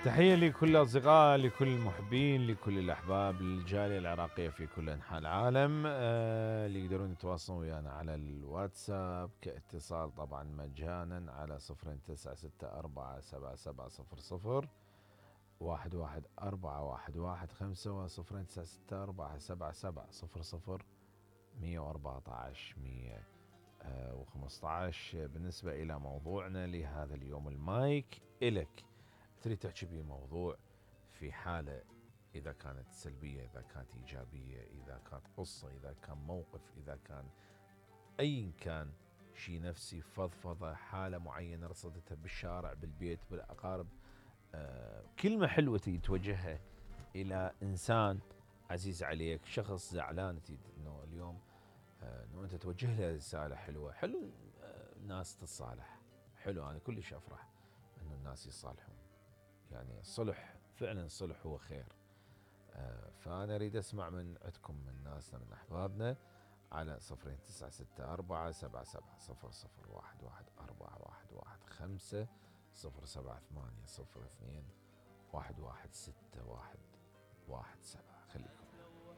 تحية لكل الأصدقاء، لكل المحبين، لكل الأحباب، للجالية العراقية في كل أنحاء العالم، اللي يقدرون يتواصلون ويانا على الواتساب كاتصال طبعا مجانا على 0964770011 و11457700 بالنسبة إلى موضوعنا لهذا اليوم، المايك إلك. تريد تحكي بيه موضوع في حالة، إذا كانت سلبية، إذا كانت إيجابية، إذا كانت قصة، إذا كان موقف، إذا كان أي كان شيء نفسي، فضفضة، حالة معينة رصدتها بالشارع، بالبيت، بالأقارب، كلمة حلوة توجهها إلى إنسان عزيز عليك، شخص زعلان تريد إنه اليوم إنه أنت توجه له رسالة حلوة. حلو الناس تتصالح، حلو، أنا كلش أفرح إنه الناس يصالحون، يعني الصلح فعلا، الصلح هو خير. فأنا أريد أسمع من عندكم، من ناسنا، من أحبابنا، على 0964770011 07802 116 117. خليكم